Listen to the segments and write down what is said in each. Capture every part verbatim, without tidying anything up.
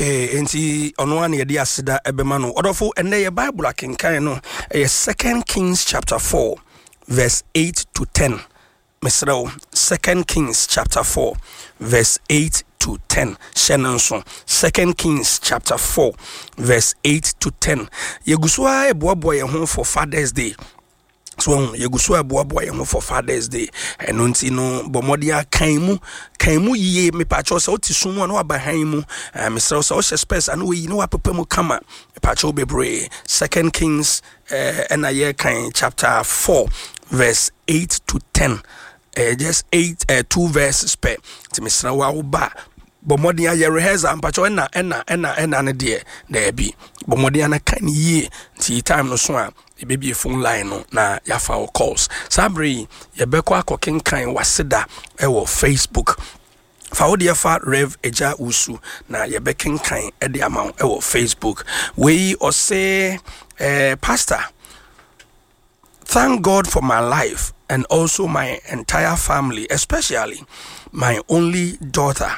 Okay, nti ɔno a na yɛde aseda ɛbɛma no. Ɔdɔfo, ɛnnɛ yɛ Bible akenkan no ɛyɛ Second Kings chapter four verse eight to ten. Mesrɛ wo, Second Kings chapter four verse eight to ten. Hyɛ no nso, Second Kings chapter four verse eight to ten. Yɛgu so a ɛboaboa yɛn ho for Father's Day. So yɛgu so a ɛboaboa yɛn ho for Father's Day. Ɛno nti no, bɔ mmɔden a kan mu, kan mu yie. Mepakyɛw, sɛ wote sum mu a, na waba han mu. Mesrɛ wo, sɛ wohyɛ specs a, na wayi na wapepa mu kama. Mepakyɛw bebree, Second Kings ɛna yɛkan chapter four verse eight to ten, uh, just eight uh, two verses pɛ. Nti mesrɛ wo a woba, bɔ mmɔden ayɛ rehearsal. Mpakyɛw, ɛna ɛna ɛna ɛna no deɛ, daabi, bɔ mmɔden ana kan yie. Nti time no so a, yɛbɛbie phone line no na yɛafa wo calls. Saa bere yi yɛbɛkɔ akɔkenkan waseda ɛwɔ Facebook. Fa wo deɛ fa Rev Agya Wusu na yɛbɛkenkan ɛde ama wo ɛwɔ Facebook. Wei ɔse, eh, "Pastor, thank God for my life and also my entire family, especially my only daughter,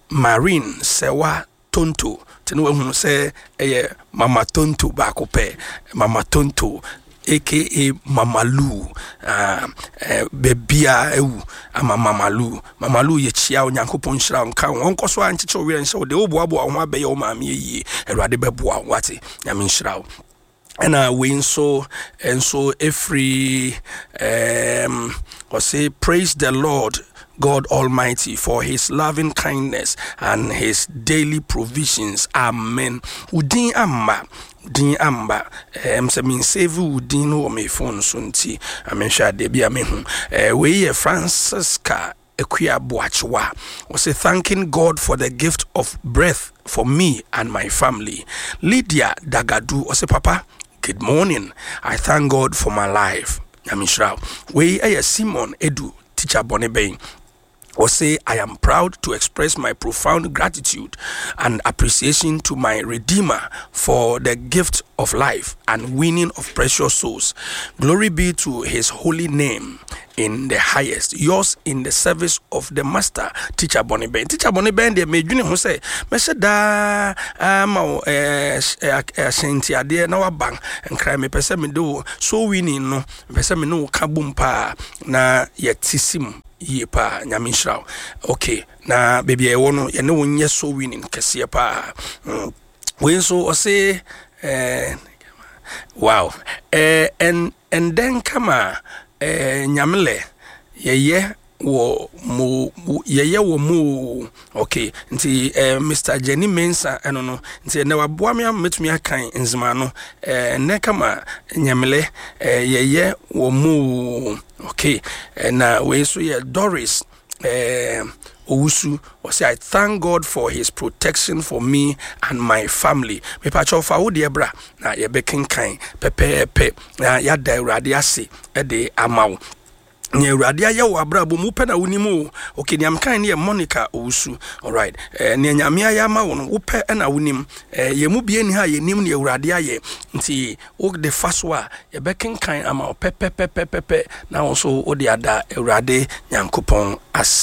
Marine Sewa Tonto." Nti ne wahu sɛ ɛyɛ Mama Tonto baako pɛ, Mama Tonto A K A Mama Lu. uh, uh, baabia ɛwu ama Mama Lu. Mama Lu, yɛkyia. Onyankopɔn nhyira wo, nka wo, ɔnkɔ so a nkyekyɛ wo werɛ nhyɛ wo de woboaboa wo ho abɛyɛ wo maame yie. Awurade bɛboa wo, wate? Nyame nhyira wo. Ɛna wei nso nso ɛfiri um, ɔse, "Praise the Lord God Almighty for his loving kindness and his daily provisions. Amen." Wo din amma, din amba. um, sɛ mensave wo din no wɔ me phone so, nti amenhwɛ adeɛ bi a mehu. uh, wei yɛ Francisca Akua Boachewa. Ɔse, "Thanking God for the gift of breath for me and my family." Lydia Dagadu ɔse, "Papa, good morning. I thank God for my life." Nyame nhyira wo. Wei ɛyɛ Simon Edu, Teacher Bɔne Bɛn. Ɔse, "I am proud to express my profound gratitude and appreciation to my Redeemer for the gift of life and winning of precious souls. Glory be to his holy name in the highest. Yours in the service of the Master, Teacher Bonnie Ben." Teacher Bonnie Ben deɛ, medwene ho sɛ mɛhyɛ daa ama wo ahyɛntiadeɛ na waba Nkran. Mepɛ sɛ mede wo soul winning no, mepɛ sɛ me ne wo ka bom paa na yɛte si mu yie paa. Nyame nhyira wo. Okay, na baabi a yɛwɔ no, yɛne wo nyɛ soul winning kɛseɛ paa. mm. wei nso ɔse, eh, wow, eh, ɛn ɛndɛn kama eh, Nyamele yɛyɛ wɔ mo, yɛyɛ wɔ mo. Okay, nti eh, Mister Jenny Mensa ɛno no. Nti ɛnɛ waboa me ama mɛtumi akan nzema no. eh, ɛnɛ kama Nyamele eh, yɛyɛ wɔ mo. Okay, eh, na wei nso yɛ Doris eh, Owusu. Ɔsɛ, "I thank God for his protection for me and my family." Mepakyɛw, fa wo deɛ bra na yɛbɛkenkan pɛpɛɛpɛ na yɛada Awurade ase ɛde ama wo. Nea Awurade ayɛ wɔ abrabɔ mu, wopɛ na wonim o. Okay, nea mekan ne yɛ Monica Owusu. Alright, eh, nea Nyame ayɛ ama wo no, wopɛ na wonim. eh, yɛn mu bie ni ha yɛnim nea Awurade ayɛ, nti wode fa so a, yɛbɛkenkan ama wo pɛpɛpɛpɛpɛ na wo nso wode ada Awurade Nyankopɔn ase.